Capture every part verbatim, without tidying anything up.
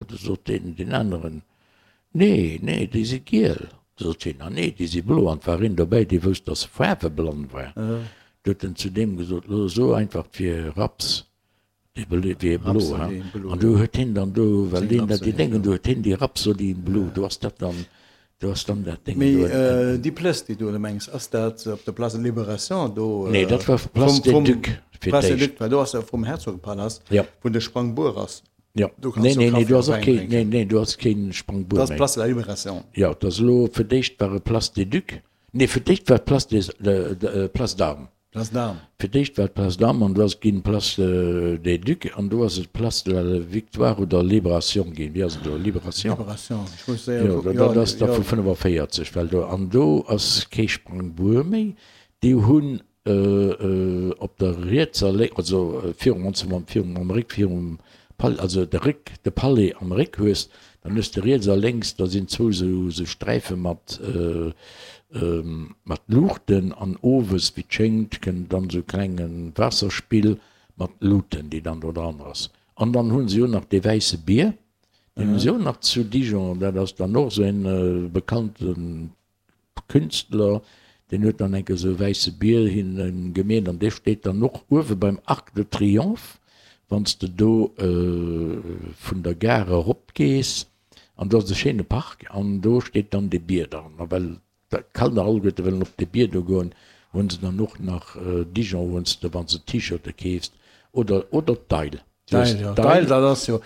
Du sot deen, deen aneren, Nee, nee, déi si giel. Du sot hien, Ah nee, déi si blo. An 't war een dobäi, dee wousst, dass e faarweblann war. Du huet en zu deem gesot, Lo so einfach, 't wier Raps, dee wier blo. An du huet hien dann do, well deen dat déi Déngen, du huet hien déi Rapsodie blo, do ass dat dann, do ass dann dat Déngen do. Mee déi Plëss, déi du elo mengs, ass dat op der Place de Libération do? Nee, dat war Place des Ducs fir d'éischt. Place des Ducs, well do ass jo vrum Herzogepalast, wou de Sprangbuer ass. Jo, nee, nee, nee, do ass och keen, nee, nee, do ass keen Sprangbuer méi. Dat ass d'Place de la Libération. Jo, dat ass elo, fir d'éischt war et Place des Ducs, nee, fir d'éischt war et Place des, Place d'Armes. Place d'Armes. Fir d'éischt war et Place d'Armes an do ass et ginn Place des Ducs an do ass et Place de la Victoire oder Libération ginn. Wéi ass et elo? Libération? Libération, ech muss séier kucken. Jo, dat ass da vu fënnefavéierzeg, well do, an do ass kee Sprangbuer méi. Déi hunn Op der rietser, lénk, also virum, wann s de mam virum am Réck virum Palais, also de Réck, de Palais am Réck hues, dann hues de riets a lénks, da sinn zwou esou esou Sträife mat mat Luuchten an owes, wéi et schéngt, kënnt dann esou e klenge Waasserspill mat Luuten, déi dann do dran ass. An dann hu se jo nach dee wäisse Bier, deen hu se och nach zu Dijon, dat ass dann och esou en bekannte Künstler, deen huet dann enke sou e wäisse Bier hinne gemeet an dee steet dann och uewe beim Arc de Triomphe, wann s de do vun der Gare erop gees an do ass e schéine Park an do steet dann dee Bier dran. A well d'Kanner alleguerte wëllen op dee Bier do goen, hu se dann och nach Dijon, wou s de, wann s de T-Shirte keefs oder oder d'Eil. D'Eil, jo, d'Eil, dat ass jo,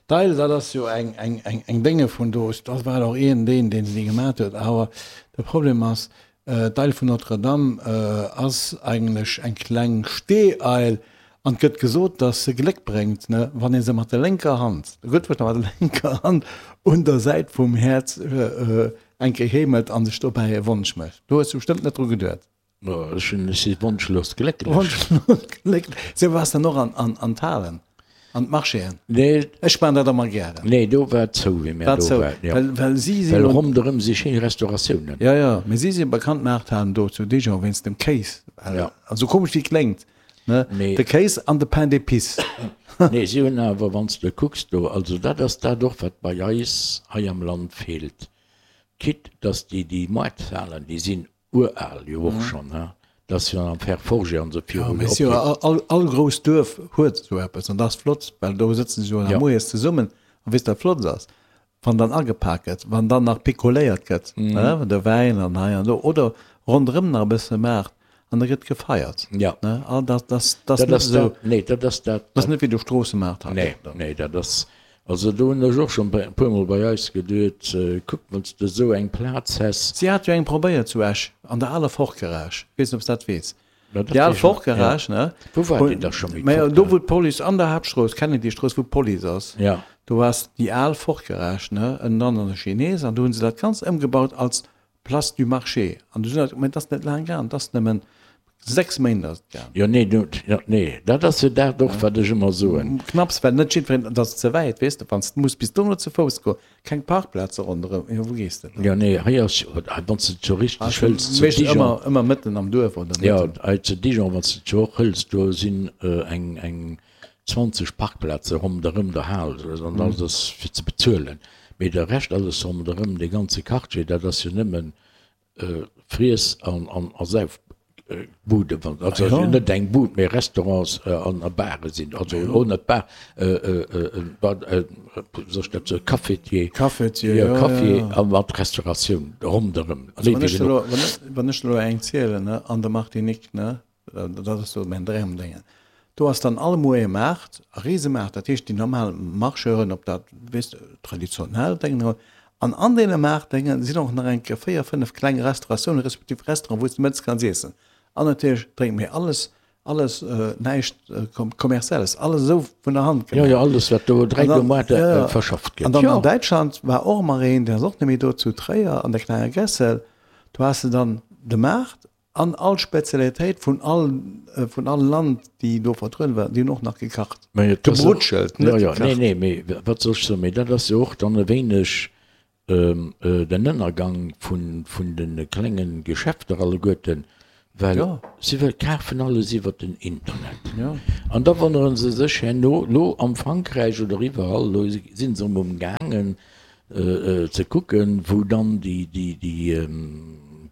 d'Eil, dat ass jo eng, eng, eng, eng Dénge vun do. Dat war och een deen, deen se gemat huet. Awer de Problem ass, d'Eil vun Notre-Dame ass eigentlech eng kleng Steeeil an et gëtt gesot, dass se Gléck bréngt, ne, wann ee se mat der lénker Hand, gutt, mat der lénker Hand un der Säit vum Häerz eng Kéier heemelt an sech dobäi e Wonsch mécht. Do hues du bestëmmt net dru geduet. Ech hunn, ech si wonschlos glécklech. Wonschlos glécklech. Sou waars dann och an, an, an d'Halen, an d'Marchéen? Nee. Ech maan dat ëmmer gären. Nee, do war et zou, wéi mär War do zou, waren, jo. well, well si si Well jo. ronderëm si schéin Restauratiounen. Jo, jo, mee si si bekannt, d'Maarthalen do zu Dijon, wéinst dem Kéis. Well, Ja. also komesch wéi et kléngt, ne, Mee. de Kéis an de Pain d'épices. Nee, si hunn awer, wann s de kucks do, also dat ass dat och, wat bei eis hei am Land feelt, quitte dass déi, déi Moarthalen, déi sinn Ural jo och schonn, he? Dat ass jo am Fer forgé an esou Jo, viru mee si jo opgeet. all, all grousst Duerf huet esou eppes an dat ass flott, well do sëtzen se jo nach Jo. moies zesummen a weess wat flott ass, wann dann agepak gëtt, wann dann nach pikoléiert gëtt, ne, de Wäin an hei an do oder ronderëm nach e bësse maacht an da gëtt gefeiert, Ja. ne, all dat, dat, dat ass Dat net ass esou, dat, nee, dat ass dat, dat ass net wéi de Stroossemaart hei. Nee, nee, dat ass, also do hunn ech och schonn e puermol bei eis geduet, kuck, wann s de esou eng Plaz häss. Si hat jo eng probéiert zu Esch, an der aler Ford-Garage, ech weess net, ob s dat weess. Ja, dat Déi al weess ech nach, ja. Ford-Garage, ne? Wou war déi da scho méi, Mä do, d'Ford-Garage? wou d'Police, an der Haaptstrooss, Kennedy-Strooss, wou d'Police ass, Ja. do ass déi al Ford-Garage, ne, ënnen an der Chinese, an do hu se dat Ganzt ëmgebaut als Place du Marché. An du sot, mä et ass net laang gaang, et ass nëmmen sechs Méint ass et gaang. Jo, nee, du, jo, nee, dat ass jo dat och, wat ech ëmmer soen. Knapps, well net jiddwereen, et ass ze wäit, weess de, wann s de muss bis dono ze Fouss goen, keng Parkplaze ronderëm, jo, wou gees de dann? Jo, nee, hei ass jo, wann s de et jo richteg hëls, zu Meeschtens Dijon. ëmmer, ëmmer mëtten am Duerf oder Jo, mëtten. hei zu Dijon, wann s de et jo och hëls, do sinn eng, eng zwanzeg Parkplaze ronderëm der Hal, an dat ass fir ze bezuelen. Mee de Rescht alles ronderëm, dee ganze Quartier, dat ass jo nëmmen Friess an a Saufbuden, also net eng Bud, mee Restaurants an a Bare sinn, also och net Bar, wéi soll ech dat soen, Cafetier, Cafetier, jo, Café a mat Restauratioun ronderëm. Also wann ech der elo, wann ech der elo eng zielen, ne, an der Martinique, ne, Dat ass do mäin Dramdéngen. Do ass dann all Moie Maart, e Risemaart, dat heescht déi normal Marcheuren, ob dat, weess de, traditionell Déngen, an an deene Maartdéngen sinn och nach eng Kéier véier, fënnef kleng Restauratiounen, respektiv Restauranten, wou s de mëttes kanns iessen. An natierlech drénke mir alles, alles näischt Kommerzielles, alles esou vun der Hand gemaach. Jo, jo, alles wat do dräi Moarte verschafft gëtt. An dann an Däitschland war och ëmmer een, deen ass och net méi do, zu Tréier an der klenger Gessel, do has de dann de Maart, An all Spezialitéit vun all vun all Land déi do vertrueden war, déi hunn och nach gekacht. Mä et ass och, Gebrutschelt, jo, net jo, nee, gekacht. nee, mee wat soll ech soen, mee dat ass jo och dann e wéineg den Ënnergang vun vun de klenge Geschäfter alleguerten, Well si wëll kafen alles iwwert den Internet. An da wonnere se sech herno, lo am Frankräich oder iwwerall, lo si se erëm umgaangen ze kucken, wou dann déi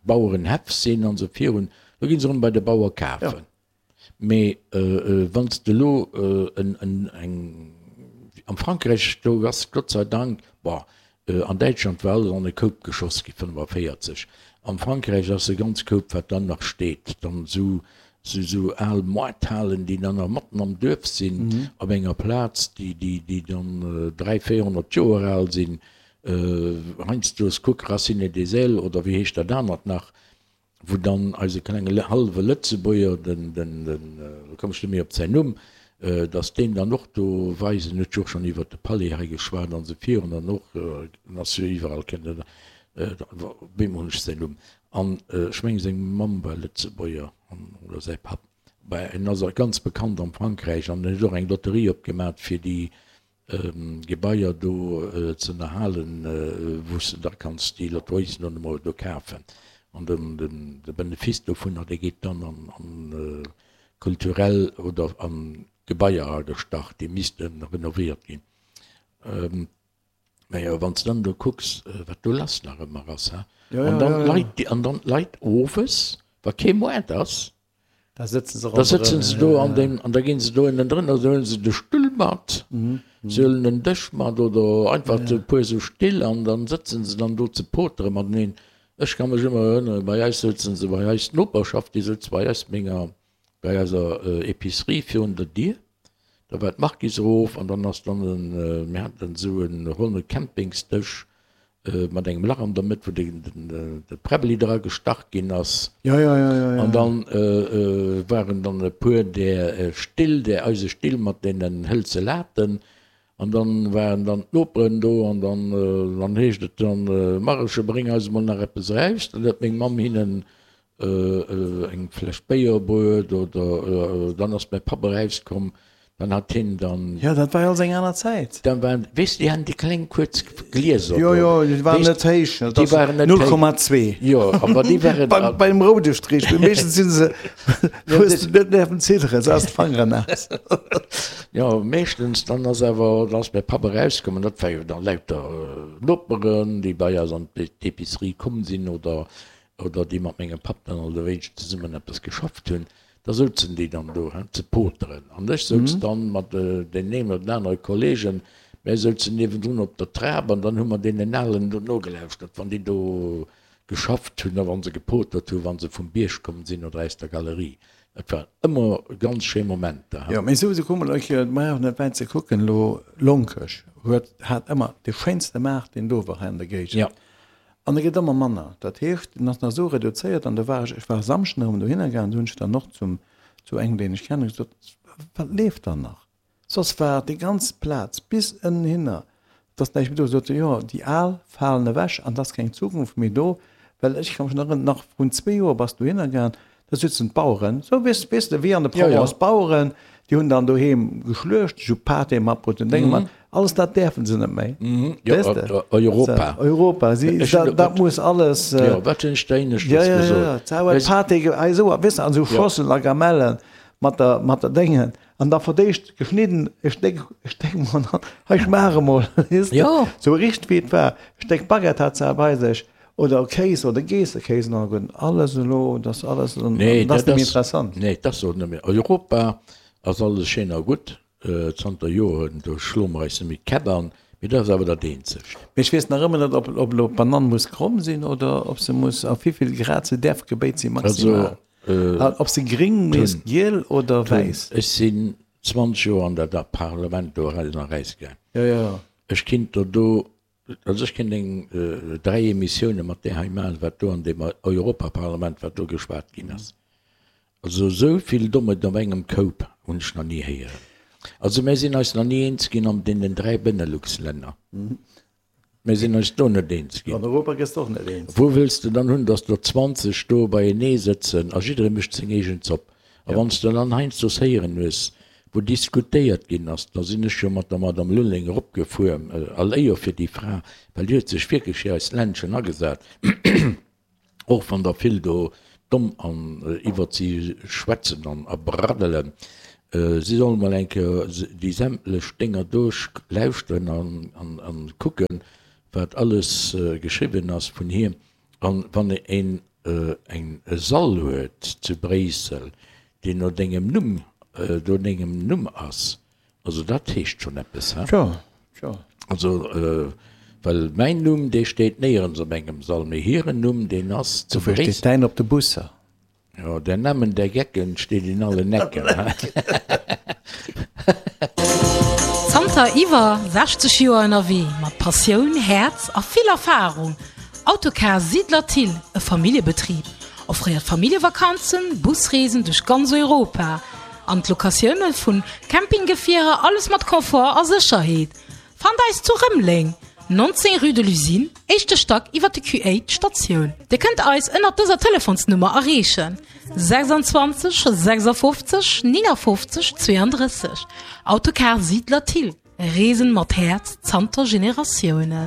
Bauerenhäff sinn an esou virun, lo gi se erëm bei de Bauer kafen. Mee wann s de elo eng, am Frankräich, do ass Gott sei Dank, bon, an Däitschland war alles an e Koup geschoss gi fënnefavierzeg, am Frankräich ass e ganz Koup, wat dann nach steet, dann esou esou al Moarthalen, déi dann nach matten am Duerf sinn, op enger Plaz, déi déi dann dräi, véierhonnert Joer al sinn, heiansdo, kuck Racine des Ailes oder wéi heescht dat anert nach, wou dann eise klenge hallwe Lëtzebuerger, den, den, den, elo komm ech net méi op säin Numm, datt deen dann och do weisen huet, jo och schonn iwwert de Palais hei geschwat an esou virun an och, en ass jo iwwerall, kennt en, op eemol hunn ech säin Numm, an ech mengen seng Mamm war Lëtzebuerger an, oder säi Papp, bah, en ass ganz bekannt am Frankräich an en huet och eng Lotterie opgemat fir déi Gebaier do z'ënnerhalen, wou s de da kanns déi Lotteriessen dann emol do kafen. An de Benefice dovunner, dee geet dann an kulturell oder an Gebaier agestach, déi misste renovéiert ginn. Mä jo, wann s de dann do kucks, wat do lass nach ëmmer ass, he? An dann d'Leit, an dann d'Leit owes, wa kee Moart ass, Da sëtzen se Da sëtzen se do an deem, an da ginn se do ënnendrënner, da huelen se de Stull mat, se huelen en Dësch mat oder einfach e puer esou Still an dann sëtzen se dann do ze potere mateneen. Ech ka mech ëmmer erënneren, bei eis souzen se, bei eis d'Noperschaft, déi souz bei eis menger, bei eiser Epicerie virun der Dier, da war d'Marquise erof an dann ass dann en, mir haten esou e ronne Campingsdësch mat engem Lach an der Mëtt, wou de Präbbeli dra gestach ginn ass. Ja, ja, ja, ja, ja. An dann waren dann e puer där Still, där eise Still mat deenen hëlze Laten. An dann waren dann d'Noperen do an dann, dann heescht et dann, Mareche, bréng eis emol nach eppes eraus. Dann huet meng Mamm hinnen eng Fläsch Béier bruet oder dann ass mäi Papp erauskomm. Dann hat hien dann. Jo, dat war jo alles eng aner Zäit. Dann waren, weess de, déi haten déi kleng kuerz Glieser do. Jo, jo, déi waren net héich. Déi waren net héich. null Komma zwee. Jo, awer déi waren. Bei, bei dem roude Strich, mee meeschtens si se, hues de net däerfen zidderen, se ass d'Fangeren naass. Jo, meeschtens, dann ass awer, dann ass mäi Papp erauskomm an dat war jo dann lauter Noperen, déi bei eis an d'Epicerie komm sinn oder, oder déi mat mengem Papp dann alt e wéineg zesummen eppes geschafft hunn. Da souzen déi dann do, he, ze poteren. An ech souz dann mat deenen een oder den anere Kollegen, mär souzen niewendrun op der Trap an dann hu mer deenen Alen do nogelauschtert, wann déi do geschafft hunn a wa se gepotert hunn, wa se vum Bierg komm sinn oder aus der Galerie. Dat waren ëmmer ganz schéi Momenter, he. Jo, mee sou, kuck mol, ech brauch net wäit ze kucken elo, Lonkech huet, hat ëmmer dee schéinste Maart, deen do war hei an der Géigend. Jo. An e gëtt ëmmer manner. Dat heescht, en ass nach esou reduzéiert. An do war ech, ech war e Samschden erëm dohinner gaangen, do hunn ech dann och zum, zu engem, deen ech kennen, gesot, Wat leeft dann nach? Soss war déi ganz Plaz bis ënnenhinner, et ass näischt méi do. Sot e, Jo, déi Al falen ewech an et ass keng Zukunft méi do. Well ech ka mech nach erënneren, nach vrun zwee Joer bass du dohinner gaangen, Da sitzen d'Baueren, sou weess, weess de, wéi an der Provence, d'Baueren, déi hunn dann doheem geschluecht, ech hu Pâté matbruet und Dénge mat, alles dat däerfe se net méi, weess de. Europa. Europa, si, dat, dat muss alles. Jo, wat hunn ech der éineschtens gesot? Ja, ja, ja, ja, huet Pâté, hei esou, weess de, an esou Schosselen a Gamellen mat der, mat der Déngen, an da verdéischt geschnidden e Stéck, e Stéck mol, hei schmaach emol, weess de, sou richteg wéi et war, e Stéck Baguette hat se bei sech. Oder Kéis oder Geessekéis an alleguerten alles elo, dat ass alles, Nee, dat ass dat net méi ass, interessant. nee, dat ass och net méi. Europa ass alles schéin a gutt, zanter Joren, do schloe mer eis net méi d'Käpp an, mee dat ass awer dat eenzegt. Mee ech weess nach ëmmer net, ob ob elo d'Banann muss kromm sinn oder ob se muss, a wéivill Grad se däerf gebéit sinn maximal. Also, An ob se gréng Tun, misst, giel oder Tun, wäiss. ech sinn zwanzeg Joer an dat Parlament do eran a erausgaang. Jo, jo. Ech kinnt der do Also ech kéint eng dräi Emissioune mat där hei maachen, wat do an deem Europaparlament, wat do geschwat ginn ass. Also esou vill Dommheet op engem Koup hunn ech nach ni héieren. Also mär sinn eis nach ni eens ginn an deenen dräi Benelux-Länner. Mär sinn eis do net eens ginn. An Europa gëss de och net eens. Wou wëlls de dann hunn, datt der zwanzeg do beienee sëtzen a jidderee mécht seng eegen Zopp? A wann s de dann heiansdo héieren hues, wou diskutéiert ginn ass, da sinn ech jo mat der Madame Lulling eropgefuer, all Éier fir déi Fra, well déi huet sech wierklech fir eist Ländchen agesat, och wann der vill do domm an iwwert si schwätzen an a braddelen. Si sollen mol eng Kéier déi sämtlech Dénger duerchlauschteren an an an kucken, wat alles geschriwwen ass vun hir. An wann een eng e Sall huet zu Bréissel, deen no dengem Numm, no dengem Numm ass, also dat heescht schonn eppes, he? Tjo, tjo. Also, well mäin Numm, dee steet néierens op engem Sall, mee hiren Numm, deen ass zu Dofir steet Bréissel. däin op de Busser. Jo, der Namen der Gecken steet in allen Ecken, he? Zanter iwwer sechzeg Joer ënnerwee, mat Passioun, Häerz a vill Erfarung, Autocar Siedler Thill, e Familljebetrib, offréiert Familljevakanzen, Busreesen duerch ganz Europa an d'Locatioune vun Campinggefierer, alles mat Confort a Sécherheet. Fannt eis zu Rëmeleng, neunzéng rue de l'Usine, éischte Stack iwwer de Q eight Statioun. Dir kënnt eis ënnert dëser Telefonsnummer erreechen, sechsundzwanzeg sechsundfünfzig neunundfünfzig zweiunddrësseg. Autocar Siedler Thill, Reesen mat Häerz zanter Generatiounen.